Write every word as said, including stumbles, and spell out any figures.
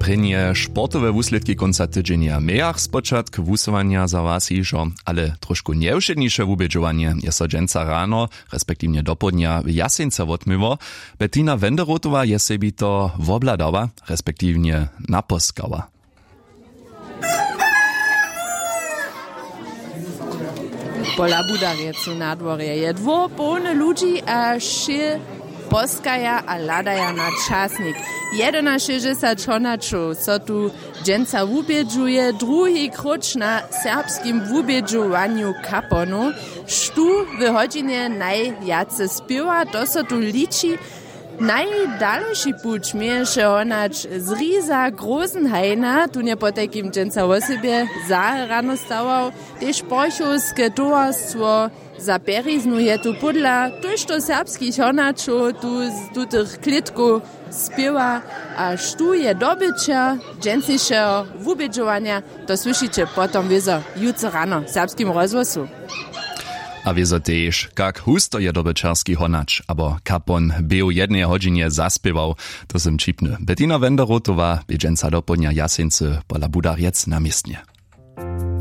Prěnje sportowe wuslědki kónca tydźenja mějach spočatk wusyłanja za was hižo, ale tróšku njewšědniše wubědźowanje je so dźensa rano, respektiwnje dopołdnja w Jaseńce wotměło. Bettina Wenderotowa je sebi to wobhladała, respektiwnje naposkała. Pola budarjecu na dworje je dwór połny ludźi a wšě poskaja a hladaja na časnik. Jedynašěsćdźesat honaćow so tu dźensa wubědźuje druhi króć na serbskim wubědźowanju kaponow. Štó w hodźinje najwjace spěwa, to so tu liči. Najdalši puć měješe honać z riza grosenheina, tón je potajkim dźensa wosebje za rano stawał. Tež porchowske towarstwo za pjeriznu je tu pódla tójšto serbskich honaćow tu z tutych klětkow spěwa. A štó je dobyćer dźensnišeho wubědźowanja, to słyšiće potom wězo jutře rano w serbskim rozhłosu. A wězo tež, kak husto je dobyćerski honać abo kapon bě w jedneje hodźinje zaspěwał. To sym ćipny. Bettina Wenderotowa bě dźensa dopołdnja w Jaseńcy pola budarjec na městnje.